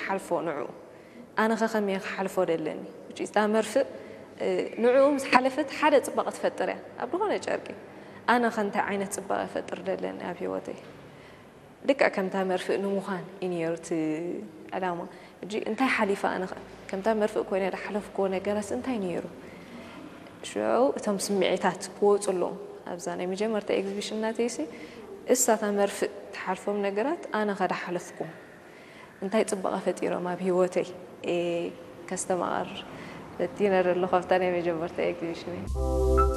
ሓልፎ ንዑ ኣነ ኸ ከመይ ክሓልፎ ደለኒ? እታ መርፍእ ንዕኡ ምስ ሓለፈት ሓደ ፅባቐ ትፈጥር እያ ኣብ ዝኾነ ጨርቂ። ኣነ ኸ እንታይ ዓይነት ፅባቐ ፈጥር ደለኒ ኣብ ህይወተይ? ልክዕ ከምታ መርፍእ ንምዃን እዩ ነይሩ እቲ ዕላማ። ሕጂ እንታይ ሓሊፋ ኣነ ኸ ከምታ መርፍእ ኮይነ ዝሓለፍክዎ ነገራስ እንታይ ነይሩ? ሽዑ እቶም ስምዒታት ክወፁ ኣለዎም። ኣብዛ ናይ መጀመርታ ኤግዚቢሽን ናተይሲ እሳታ መርፍእ ትሓልፎም ነገራት ኣነ ኸ ዝሓለፍኩም እንታይ ፅባቐ ፈጢሮም ኣብ ህይወተይ ከስተማቐር ፈቲነ ዘለኹ ኣብታ ናይ መጀመርታ ኤግዚቢሽን።